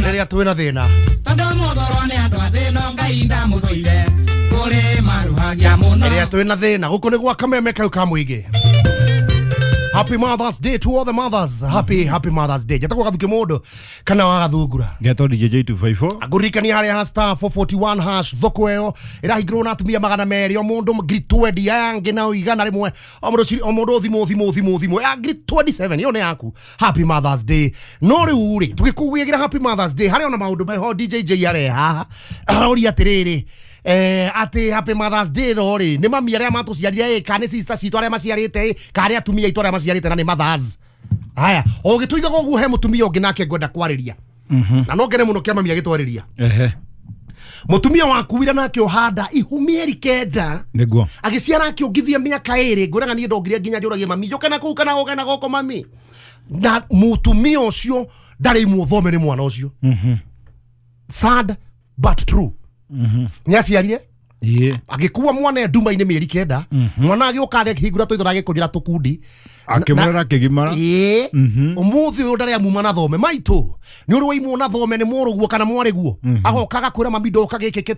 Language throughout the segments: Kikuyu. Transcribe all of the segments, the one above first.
Rĩrĩa twĩna thĩna. Tondũ mũthorwo nĩ andũ a thĩna Ngai ndamũthũire. Kũrĩ maruhagia mũno. Rĩrĩa twĩna thĩna gũkũ nĩ gwa kameme kau ka mũingĩ. Happy Mother's Day to all the mothers. Happy happy Mother's Day. Njĩtagwo Gathuki mũndũ kana wa Gathungura. Ngetwo DJ 254. Ngũririkania harĩa ha star 441 hash thoko ĩyo ĩrahingĩrwo na atumia 200 o mũndũ ngiri 20 aya angĩ nao 100 o mũndũ o mũndũ thimũ thimũ thimũ thimũ ya ngiri 27 ĩyo nĩ yaku. Happy Mother's Day. No rĩu rĩ tũgĩkũgĩra Happy Mother's Day harĩa ona maũndũ meho DJ J areha haha aroria atĩrĩrĩ atĩ Happy Mother's Day no rĩ nĩ mami arĩa matũciarire ĩ kana nĩ sister citũ arĩa maciarĩte ĩ kana nĩ atumia aitũ arĩa maciarĩte na nĩ mothers. Haya o gĩtũigaga ũguo he mũtumia ũngĩ nake ngwenda kwarĩria. Na no ngene mũno kĩa mami agĩtwarĩria. Ehe. Mũtumia wakuire nake ũhanda ihu mĩeri 9 Nĩguo. agĩciara akĩongithia mĩaka 2 ngwĩraga niĩ ndongire nginya njũragie mami njũke na kũu kana gũke na gũkũ mami na mũtumia ũcio ndarĩ imwo thome nĩ mwana ũcio. Sad but true. Nĩaciarire Ĩĩ. agĩkua mwana nduma-inĩ mĩeri 9 mwana agĩũka thĩ akĩhingũra tũitho na agĩkũnjĩra tũkundi Akĩmũrera akĩgimara. Ĩĩ. Ũmũthĩ ũyũ ndarĩ amuma na thome maitũ nĩ ũrĩ waimwo na thome nĩ mũrũguo kana mwarĩguo agoka agakwĩra mami ndoka gĩkĩ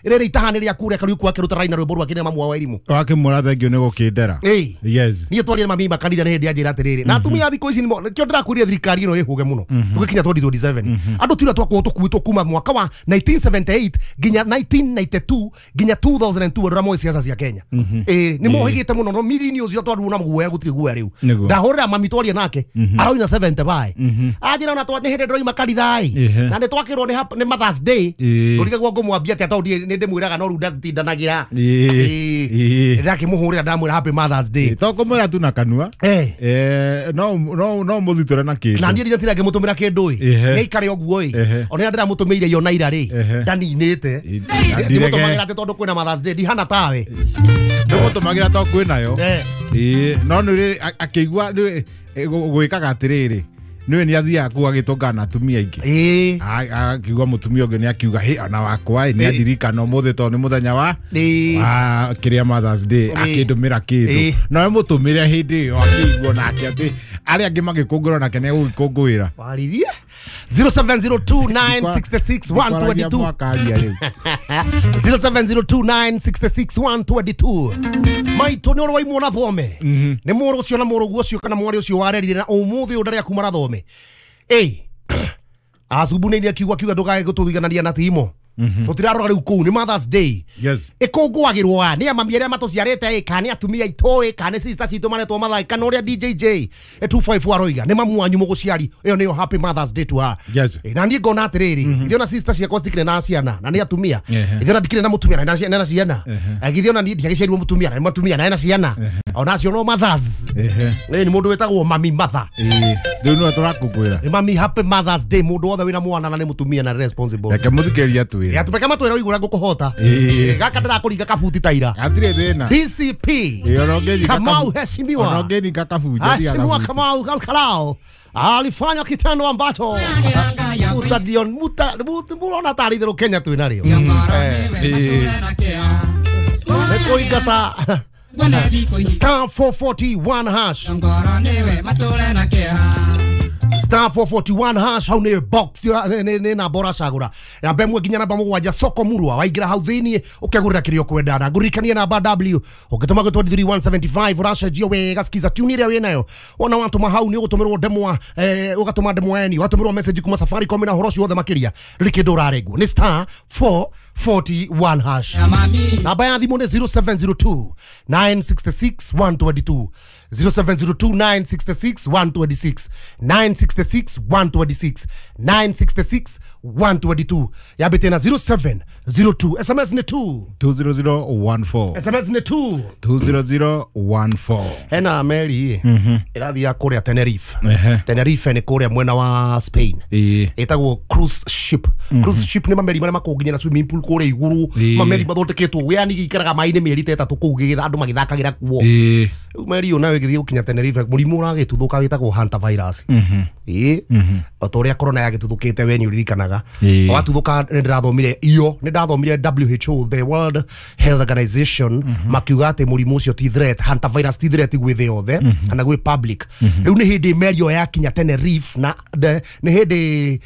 rĩrĩ itaha nĩ rĩaku reka rĩu akĩruta raina rwĩmbo rwake nĩ mamu wa irimũ. Wakĩmwĩra thengio nĩ gũkĩndera. Ĩĩ. Yes. Niĩ twarire mami makanitha nĩ hĩndĩ anjĩra atĩrĩrĩ na atumia a thikũ ici nĩkĩo ndĩrakwĩrire thirikari ĩno ĩhũge mũno tũgĩkinya 2027 andũ tiũrĩa twakorwo tũkuĩtwo kuma mwaka wa 1978 nginya 1992 nginya 2002 andũ arĩa moĩ siasa cia Kenya. Ĩĩ nĩ mohĩgĩte mũno no mirini ũcio twaruo na guoya gũtirĩ guoya rĩu. Nĩguo. Ndahũrĩra mami twaria nake aroina 70 anjĩra ona nĩ hĩndĩ ndĩroima kanitha ĩ na nĩ twakĩrwo nĩ Mother's Day ngũrigagwo ngũmwambia atĩa tondũ nĩ ndĩmwĩraga no rĩu ndatindanagĩra. Ĩĩ. Ĩĩ. Ndakĩmũhũrĩra ndamwĩra happy Mother's Day. To kũmwĩra tu na kanua. No no no mũthitũre na kĩndũ. Na niĩ ndira ngĩmũtũmĩra kĩndũ ĩ Ehe. nĩ aikare ũguo ĩ Ehe. ona ndĩramũtũmĩire iyo na ira rĩ Ehe. ndaninĩte Ndirege. ndimũtũmagĩra atĩ tondũ kwĩna Mother's Day ndihana tawe. Ndũmũtũmagĩra to kwĩnayo. Eh. Ĩĩ no nĩ akĩigua gwĩkaga atĩrĩrĩ nĩwe nĩ athiaga kũu agĩtũngana na atumia aingĩ. Ĩĩ. Akiuga mũtumia ũngĩ nĩ akiuga hĩ ona wakwa ĩ nĩ andirikana ũmũthĩ tondũ nĩ mũthenya wa Ĩĩ. wa kĩrĩa Mother's Day Ĩĩ. akĩndũmĩra kĩndũ Ĩĩ. no mũtũmĩre hĩndĩ ĩyo akĩigua nake atĩ arĩa angĩ magĩkũngũĩra nake nĩ egũgĩkũngũĩra. Waririe 0702966122 mwakaria rĩu. 0702966122 maitũ nĩ ũrĩ waimwo na thome nĩ mũrũ ũcio na mũrũguo ũcio kana mwarĩ ũcio warerire na ũmũthĩ ũyũ ndarĩ akuma na thome. Ĩ acumbu-inĩ akiuga kiuga ndũkae gũtũiganania na timo tũtirarora rĩu kũu nĩ Mother's Day. Yes. Ĩkũngũagĩrwo a nĩ amami arĩa matũciarĩte ĩ kana nĩ atumia aitũ ĩ kana nĩ sister citũ maretwo Mathai kana ũrĩa DJ J 254 aroiga nĩ mamu wanyu mũgũciari ĩyo nĩyo happy Mother's Day to her. Yes. Ĩ, na niĩ ngona atĩrĩrĩ ithuĩ ona sister ciakwa citikĩrĩ na ciana na nĩ atumia Ehe. ithuĩ ona ndikĩrĩ na mũtumia na nĩ na ciana githĩ ona niĩ ndiagĩciarirwo mũtumia na nĩ mũtumia na ena ciana ona acio no mothers. Ehe. Ĩ nĩ mũndũ wĩtagwo mami mother. Ĩĩ rĩu nĩwe tũrakũngũĩra. Nĩ mami happy Mother's Day mũndũ wothe wĩna mwana na nĩ mũtumia na responsible. Reke mũthikĩrĩria atwĩre. Yatũmeke matwĩra ũigũra ngũkũhota. Ĩĩ. Gaka ndĩrakũringa kabuti ta ira. Hatirĩ thĩna. DCP Ĩĩ, ona ũngĩringa Kamau heshimiwa. Ona ũngĩringa kabunja tiga Heshimiwa kabuti. Kamau Kalkalao alifanya kitendo ambacho mutadion muta murona tarĩ itherũ Kenya twĩ narĩo. Nĩ kũingata star 441 hash star 441 hash hau nĩ box nĩ namba ũracagũra namba 1 nginya namba 7 soko murwa waingĩra hau thĩiniĩ ũkegũrĩra kĩrĩa ũkwenda na ngũririkanie namba W ũngĩtũma gwĩ 23175 ũracenjio wega skiza tune ĩrĩa wĩnayo wona watũma hau nĩ ũgũtũmĩrwo ndemwa ũgatũma ndemwa eni ũgatũmĩrwo message kuma Safaricom na ũhoro ũcio wothe makĩria rĩrĩ kĩndũ ũrarengwo nĩ star 441 hash. Namba ya thimũ nĩ 0702 966 122 0702 966 126 966 126 966 122 yambĩte na 0702 SMS nĩ 2 20014. SMS nĩ 2 20014. Hena meri ĩrathiĩ kũrĩa Tenerife. Ehe. Tenerife nĩ kũrĩa mwena wa Spain. Ĩĩ. Ĩtagwo cruise ship. Cruise ship nĩ mameri marĩa makoragwo nginya na swimming pool kũrĩa igũrũ Ĩĩ. mameri mathondeketwo yani gĩikaraga maĩ-inĩ mĩeri ta 3 kũu andũ magĩthakagĩra kuo. Ĩĩ. Rĩu meri ĩyo nayo ĩgĩthiĩ gũkinya Tenerife mũrimũ ũragĩtuthũka wĩtagwo hantavirus. Ĩĩ, o ta ũrĩa corona yagĩtuthũkĩte we nĩ ũririkanaga. Ĩĩ. Watuthuka nĩ ndĩrathomire iyo nĩ ndathomire WHO, the World Health Organization, makiuga atĩ mũrimũ ũcio ti threat, hantavirus ti threat gwĩ thĩ yothe kana gwĩ public. Rĩu nĩ hĩndĩ meri ĩyo yakinya Tenerife na nĩ hĩndĩ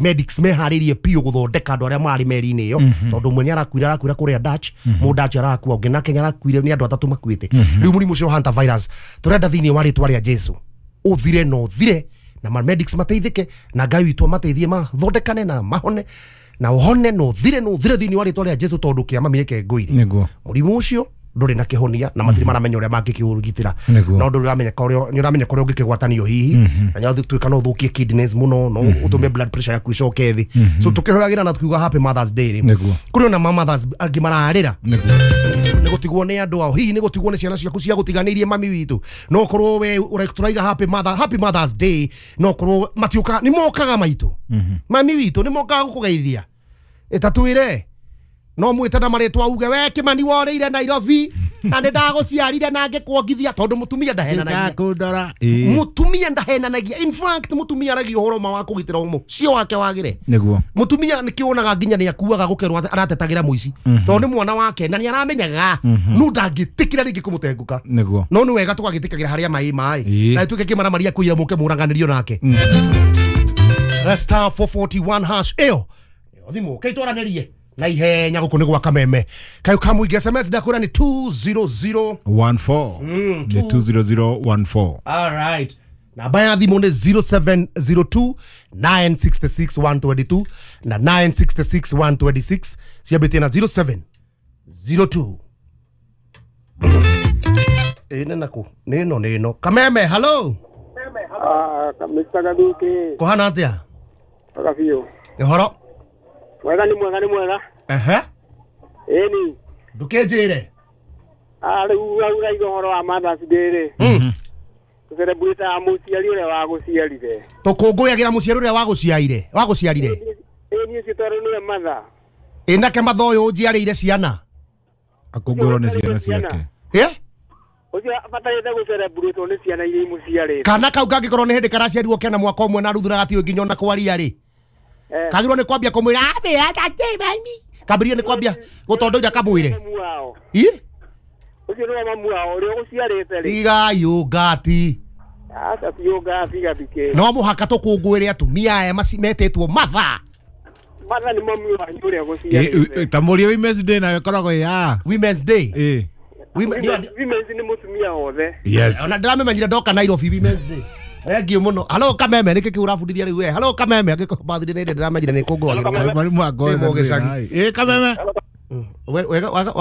medics meharĩirie biũ gũthondeka andũ arĩa marĩ meri-inĩ ĩyo, tondũ ũmwe nĩ arakuire, arakuira kũrĩa Dutch, mũ Dutch arakua, ũngĩ nake nĩ arakuire, nĩ andũ atatũ makuĩte. Rĩu mũrimũ ũcio wa hantavirus tũrenda thĩinĩ wa rĩtwa rĩa Jesu ũthire na ũthire, na ma medics mateithĩke na Ngai witũ amateithie mathondekane na mahone na ũhone na ũthire na ũthire thĩinĩ wa rĩtwa rĩa Jesu, tondũ kĩama mĩreke ngũire. Nĩguo. Mũrimũ ũcio ndũrĩ na kĩhonia na matirĩ maramenya ũrĩa mangĩkĩũrigitĩra. Nĩguo. No ndũrĩ ũramenya ũrĩa nĩ ũramenya kũrĩa ũngĩkĩgwatanio hihi, na nĩ tuĩka no ũthũkie kidneys mũno, no ũtũme blood pressure yaku ĩcoke thĩ. So tũkĩhoyagĩra na tukiuga happy Mothers Day rĩ, Nĩguo. kũrĩ ona ma mothers angĩ mararĩra Nĩguo. nĩ gũtigwo nĩ andũ ao, hihi nĩ gũtigwo nĩ ciana ciaku cia gũtiganĩirie mami witũ. No korwo we tũraiga happy mother, happy Mothers Day, no korwo matiũkaga, nĩ mokaga maitũ, mami witũ nĩ mokaga gũkũgeithia, ĩtatwĩre no mwĩte na marĩtwa uge we Kĩmani worĩire Nairobi na nĩ ndagũciarire na ngĩkuongithia, tondũ mũtumia ndahenanagia. Kundora. Ĩĩ. Mũtumia ndahenanagia, in fact mũtumia aragia ũhoro ma wa kũgitĩra mũciĩ wake wagĩre. Nĩguo. Mutumia nä kä wonaga nginya nä akuaga gå kerwo aratetagä ra må ici tondå nä mwana wake na nä aramenyaga no ndangä tä kä ra rä ngä kå må tengå Nĩguo. no nä wega tå gagä tä kagä ra harä a maä maä Ĩĩ. na tuä ke kä maramaria kå ira må ke må raganä nake. Star 441 hash ä yo thimå kä twaranä rie na ihenya gå kå nä gwa kameme kayå kamå SMS ndakwä ra nä 200 14. Nĩ 20014. All right. Namba ya thimå nä 0702 966 122 na 966 126, ciambä na 0702. Ä nä nakå nä no nä no kameme hallo. Mr. Gathuki, kå hana atä a? wega biũ. Å horo? Mwega nĩ mwega nĩ mwega. Ehe. Ĩni. Ndå kä njä re. Rĩu ũraiga ũhoro wa Mothers Day rĩ. Tũcerebrate mũciari ũrĩa wagũciarire. Tå kå ngå yagä ra må ciari å rä a wagå ciarire. Ĩni ũcio tondũ nĩwe mother. Ä nake matha å yå njiarä ire ciana. Akũngũĩrwo nĩ ciana ciake. Ĩ? Ũcio abatarĩte gũcerebrate nĩ ciana iria imũciarĩte. Kana kau kangä korwo nä hä ndä karaciarirwo kena mwaka ũmwe na ruthura gatiå nginya ona kwaria rĩ, kagirwo nä kwambia kå mwä ra mami, kambä nä kwambia gå tondoira kamwä re. Mamu wao. Ĩ? Ũcio nĩwe mamu wao ũrĩa ũgũciarĩte rĩ. Igai ũngati. Aca ti ũngati Gathukĩ. No må haka tå kå ngå ä re atumia aya metetwo matha. Mother nĩ mamu wanyu ũrĩa ũgũciarĩte. Ta mũria Women's Day nayo ĩkoragwo ĩ ya. Women's Day. Ĩĩ. Women's nĩ mũtumia wothe. Yes. Ona ndĩramĩmenyire ndoka Nairobi Women's Day. Thengiũ mũno. Halo kameme, nĩkĩ kĩu ũrabundithia rĩu we? Halo kameme, angĩkorwo bathire nĩ ndĩramenyire nĩ kũngũagĩrwo. Mwarimu wakwa. Nĩ mũgĩcagi. Ĩĩ kameme. Wega wega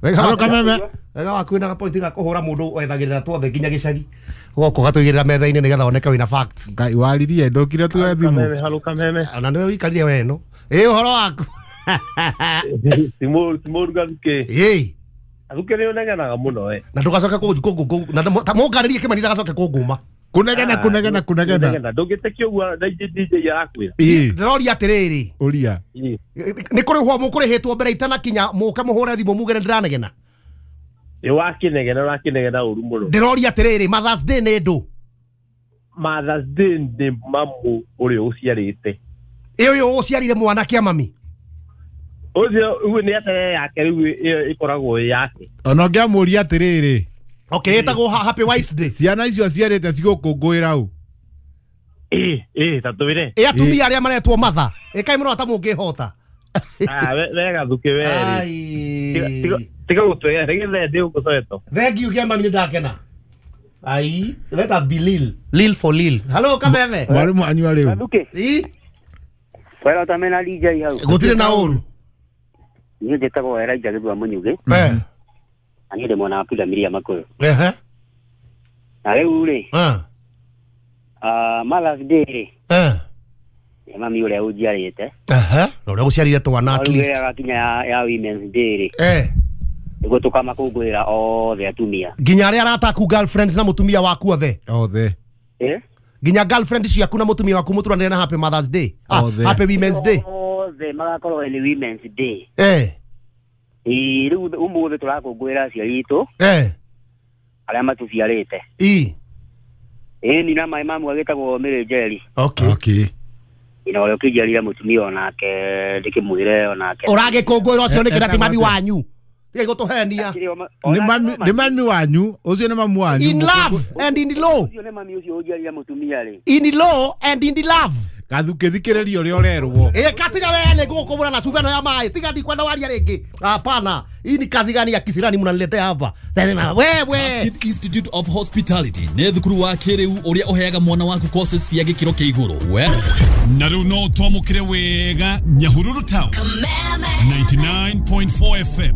wega. Halo kameme. Wega waku wĩna gapointi ga kũhũra mũndũ wethagĩrĩra twothe nginya gĩcagi. Ũgoka ũgatũigĩrĩra metha-inĩ nĩgetha woneke wĩna facts. Ngai waririe ndũkire tuoe thimũ. Halo kameme. Ona nĩwe ũikarire we ĩno. Ĩ ũhoro waku? Timũru Gathuki. Ĩ. Gathuki nĩ ũnegenaga mũno we. Na ndũgacoke kũ na mũngarĩrie Kĩmani ndagacoke kũngũma. Kunegena kunegena kunegena. Ndũngĩtĩkia ũguo DJ arakwĩra. Ĩĩ. Ndĩroria atĩrĩrĩ. Ũria. Nĩ kũrĩhwo mũkũrĩhĩtwo mbere itanakinya mũke mũhũre thimũ muge nĩ ndĩranegena. Ĩ wakĩnegena ũrakĩnegena ũru mũno. Ndĩroria atĩrĩrĩ, Mothers Day nĩ ndũ? Mothers Day nĩ mamu ũrĩa ũciarĩte. Ĩ ũyũ ũciarire mwanake a mami? Ũcio ũguo nĩ atĩ yake rĩu ĩyo ĩkoragwo ĩ yake. Ona ũngĩamũria atĩrĩrĩ. Okay, ĩtagwo Happy Wives Day. Ciana icio aciarĩte cigũkũngũĩra ũ? Ĩ ta twĩre. Ĩ atumia arĩa maretwo matha. Ĩkai mũno ta mũngĩhota. We Gathuki we rĩ. Tiga gũtwĩra nĩgetha ndĩ gũkũcoetwo. Thank you Kĩamani, nĩ ndakena. Ai, let us be Lil. Lil for Lil. Hello kameme. Mwarimu anyua rĩu. Gathuki. Ĩ? Wega ũtamena DJ hau. Gũtirĩ na ũru. Niĩ njĩtagwo Elijah Gĩthua Mũnyugĩ. Eh. Na niĩ ndĩ mwena wa Pundamilia Makũyũ. Ehe. Na rĩu rĩ. Mothers Day rĩ. Nĩ mami ũrĩa ũnjiarĩte. Ehe. Na ũrĩa ũgũciarire twana at least. Rĩu gakinya ya Women's Day rĩ. Nĩguo tũkamakũngũĩra othe atumia. Nginya arĩa arata aku girlfriends na mũtumia waku othe. Othe. Eh? Nginya girlfriend ciaku na mũtumia waku mũturanĩre na Happy Mother's Day. Othe. Happy Women's Day. Othe magakorwo nĩ Women's Day. Eh. Rĩu ũmũthĩ tũrakũngũĩra aciari aitũ. Eh. Arĩa matũciarĩte. Ĩ. Ĩni na maĩ mamu agĩtagwo Mary Njeri. Okay. Okay. Ina ũrĩa ũkĩnjiarire mũtumia onake ndĩkĩmwĩre onake. Ũragĩkũngũĩra ũcio nĩkĩ na ti mami wanyu? Tigai gũtũhenia. Nĩ mami, nĩ mami wanyu, ũcio nĩ mamu wanyu. In love and in law. Ũcio nĩ mami ũcio ũnjiarire mũtumia rĩ. In law and in love. Gathukĩ thikĩrĩria ũrĩa ũrerwo. Ĩ katiga wewe nĩ ngũgũkũbũra na cuba ĩno ya maĩ. Tiga ndikwenda waria rĩngĩ. Hapana. Hii ni kazi gani ya kisirani mnaniletea hapa? Sasa wewe. Basket Institute of Hospitality nĩ thukuru wa kĩrĩu ũrĩa ũheaga mwana waku courses cia gĩkĩro kĩa igũrũ. We na rĩu no twamũkĩre wega Nyahururu Town 99.4 FM.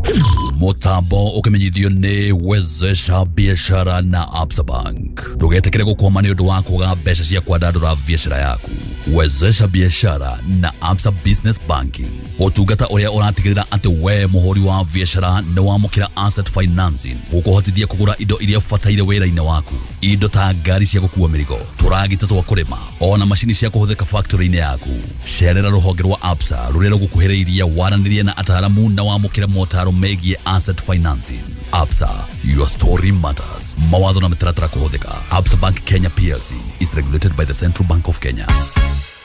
Mũtambo ũkĩmenyithio nĩ Wezesha Biashara na Absa Bank. Ndũgetĩkĩre gũkwama nĩ ũndũ wa kwaga mbeca cia kwandandũra biashara yaku. Wezesha Biashara na Absa Business Banking, ũtungata ũrĩa ũratigĩrĩra atĩ we mũhũri wa biashara nĩ wamũkĩra asset financing gũkũhotithia kũgũra indo iria ũbataire wĩra-inĩ waku, indo ta ngari cia gũkua mĩrigo, tũragita twa kũrĩma, ona macini cia kũhũthĩka factory-inĩ yaku. Cerera rũhonge rwa Absa rũrĩa rũgũkuhĩrĩirie, waranĩrie na ataaramu na wamũkĩre motaro megiĩ asset financing. Absa, your story matters. Mawatho na mĩtaratara kũhũthĩka. Absa Bank Kenya PLC is regulated by the Central Bank of Kenya.